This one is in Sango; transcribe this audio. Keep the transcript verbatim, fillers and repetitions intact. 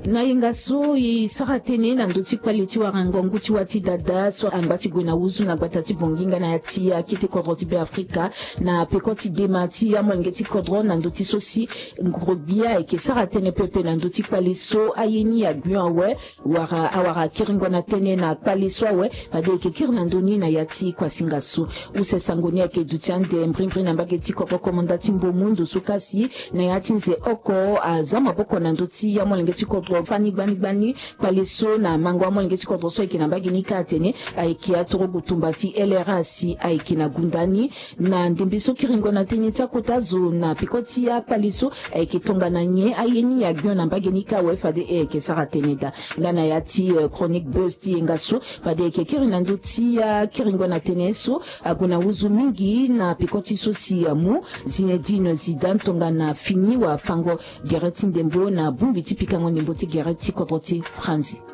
Na yenga so e sara tënë na ndö ti kpale ti wara ngongu ti wâ ti dada so angba ti gue na huzu na gbata ti Bongi nga na ya ti akete kodro ti Beafrika, na peko ti dema ti amolenge ti kodro na ndö ti so si ngrobia ayeke sara tënë pepe na ndö ti kpale so aye ni agbio awe. Wara awara kiringo na tënë na kpale so awe fade eke kiri na ndö ni na ya ti kuasinga so. Use sango ni ayeke duti ande mbrimbri na mbage ti kodro komanda ti Mbomu ndo so kasi na ya ti nze oko aza maboko na ndö ti amolenge ti kodro fani gbani gbani. Kpale so na mango amolenge ti kodro so ayeke na mbage ni kâ atene ayeke atorogu tumba ti L R A si ayeke na gunda ni. Na ndembe so kiringo na tënë ti akota zo na peko ti akpale so ayeke tongana nyen aye ni agbio na mbage ni kâ awe fade e yeke sara tënë daa. Nga na ya ti eh, chronique buzz ti yenga so fade e yeke kiri na ndö ti akiringo na tënë so ague na huzu mingi na peko ti so si amu Zinedine Zidane tongana fini wafango gere ti ndembo na bongbi ti pikango ndembo ti gere ti kodro ti Franzi.